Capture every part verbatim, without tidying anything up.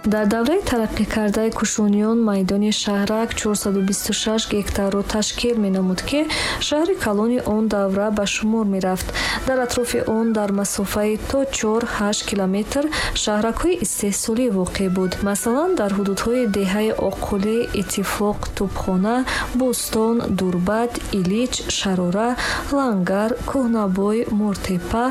Дар давраи тараққӣ кардаи Кушониён майдони шаҳрак чорсаду бисту шаш гектарро ташкил менамуд, ки шаҳри калони он давра ба шумор мерафт. Дар атрофи он дар масофаи то чор ҳашт километр шаҳракҳои истеҳсолӣ воқеъ буд. Масалан, дар ҳудудҳои деҳаи Оққулӣ, Иттифоқ, Тӯбхона, Бӯстон, Дурбат, Илич, Шарора, Лангар, Кӯҳнабой, Мортепа,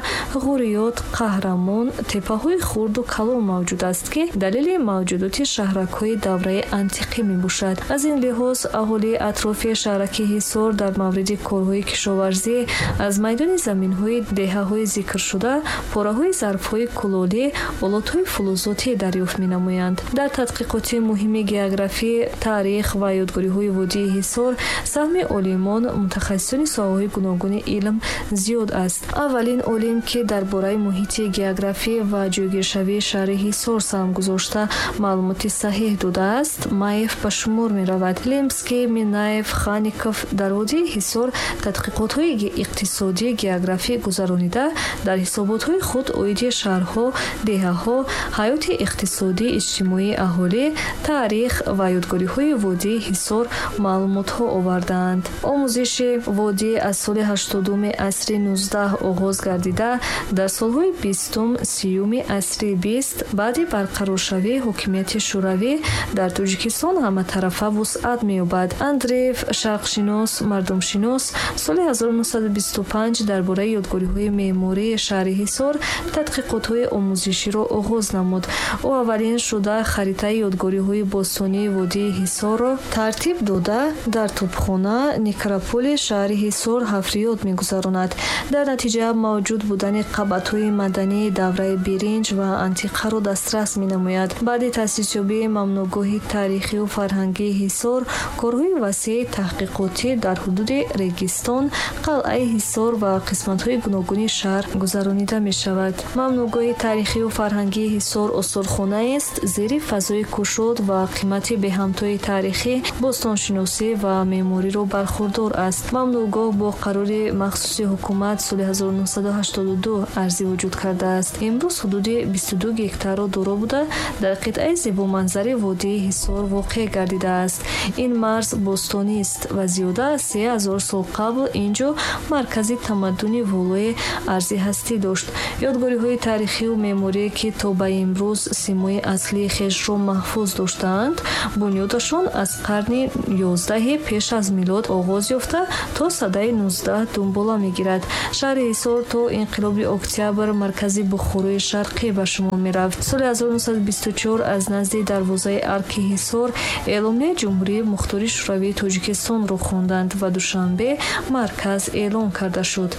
Ғуриёт, Қаҳрамон теппаҳои хурду калон мавҷуд аст, ки далели мавҷудоти шаҳракҳои давраи антиқӣ мебошад. Аз ин лиҳоз аҳолии атрофи шаҳраки Ҳисор дар мавриди корҳои кишоварзӣ аз майдони заминҳои деҳаҳои зикршуда пораҳои зарфҳои кулолӣ, олотҳои фулузотӣ дарёфт менамоянд. Дар тадқиқоти муҳими географӣ, таърих ва ёдгориҳои водии Ҳисор саҳми олимон, мутахассисони соҳаҳои гуногуни илм зиёд аст. Аввалин олим, ки дар бораи муҳити географӣ ва ҷойгиршавии шаҳри Ҳисор саҳм гузошта маълумоти саҳеҳ додааст, Маев ба шумор меравад. Лемский, Минаев, Хаников дар водии Ҳисор тадқиқотҳои иқтисодӣ географӣ гузаронида, дар ҳисоботҳои худ оиди шаҳрҳо, деҳаҳо, ҳаёти иқтисодӣ, иҷтимоии аҳолӣ, таърих ва ёдгориҳои водии Ҳисор маълумотҳо овардаанд. Омӯзиши водӣ аз соли ҳаштодуми асри нуздаҳ оғоз гардида, дар солҳои бистум сиюми асри бист баъди барқароршавии ҳокимияти Шӯравӣ дар Тоҷикистон ҳаматарафа вусъат меёбад. Андреев, шарқшинос, мардумшинос, соли ҳазору нӯҳсаду бисту панҷ дар бораи ёдгориҳои меъмории шаҳри Ҳисор тадқиқотҳои омӯзиширо оғоз намуд. Ӯ аввалин шуда харитаи ёдгориҳои бостонии водии Ҳисорро тартиб дода, дар тӯбхона некрополи шаҳри Ҳисор ҳафриёт мегузаронад. Дар натиҷа мавҷуд будани қабатҳои мадании давраи биринҷ ва антиқаро дастрас менамояд. Баъди таъсисёбии мамнӯъгоҳи таърихию фарҳангии Ҳисор корҳои васеи таҳқиқотӣ дар ҳудуди Регистон, қалъаи Ҳисор ва қисматҳои гуногуни шаҳр гузаронида мешавад. Мамнӯъгоҳи таърихию фарҳангии Ҳисор осорхонаест зери фазои кушод ва қимати беҳамтои таърихӣ, бостоншиносӣ ва меъмориро бархурдор аст. Мамнӯъгоҳ бо қарори махсуси ҳукумат соли ҳазору нӯҳсаду ҳаштоду ду арзи вуҷуд кардааст. Имрӯз ҳудуди бисту ду гектарро доро буда, дар қитъаи зебоманзари водии Ҳисор воқеъ гардидааст. Ин марз бостонист ва зиёда аз се ҳазор сол қабл ин ҷо маркази тамаддуни волои арзи ҳастӣ дошт. Ёдгориҳои таърихию меъморие, ки то ба имрӯз симои аслии хешро маҳфуз доштаанд, бунёдашон аз қарни ёздаҳи пеш аз милод оғоз ёфта то садаи нуздаҳ дунбола мегирад. Шаҳри Ҳисор то инқилоби октябр маркази Бухорои Шарқӣ ба шумор мерафт. Соли ҳазору нӯҳсаду бисту чор аз назди дарвозаи Арки Ҳисор эъломияи Ҷумҳурии Мухтори Шӯравии Тоҷикистонро хонданд ва Душанбе марказ эълон карда шуд.